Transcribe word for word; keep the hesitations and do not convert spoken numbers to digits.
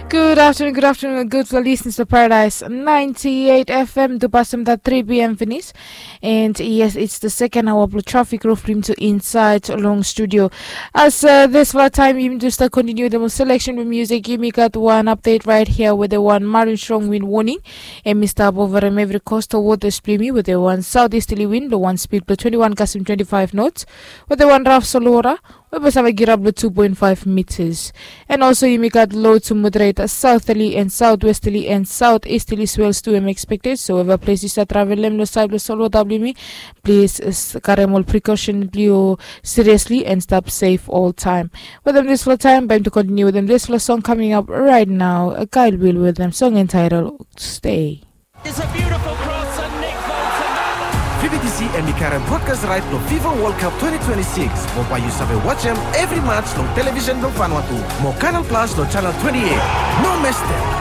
Good afternoon, good afternoon, gudfala listeners blong Paradise ninety-eight F M. Tupasem dat three p.m. finis. And yes, it's the second hour blong Traffic Roof blong yumi tu insaed long studio. As uh, disfala taem yumi tu stap kontiniu wetem ol selection blong music, yumi gat wan update right here wetem wan marin strong win warning. Hemi stap ovarem evri coastal waters blong yumi wetem wan southeasterly wind blong wan speed blong twenty-one kasem twenty-five knots, wetem wan raf solwota we bae save girap long two point five meters. And also yumi gat low to moderate southerly and southwesterly and southeasterly swells tu hemi expected. So evri ples yu stap travelem long saed blong solwota blong yumi, plis karem ol precaution blong yu seriously and stap safe oltaem. Wetem disfala taem, bae yumi tu kontiniu wetem disfala song coming up right now. Kyle Will wetem song entitled Stay. It's a beautiful cross and Nick Bolton. V B T C hemi karem broadcast right long FIFA World Cup twenty twenty-six. Mo bae yu save wajem evri match long television blong Vanuatu. Mo Canal Plus long channel twenty-eight. No mes dem.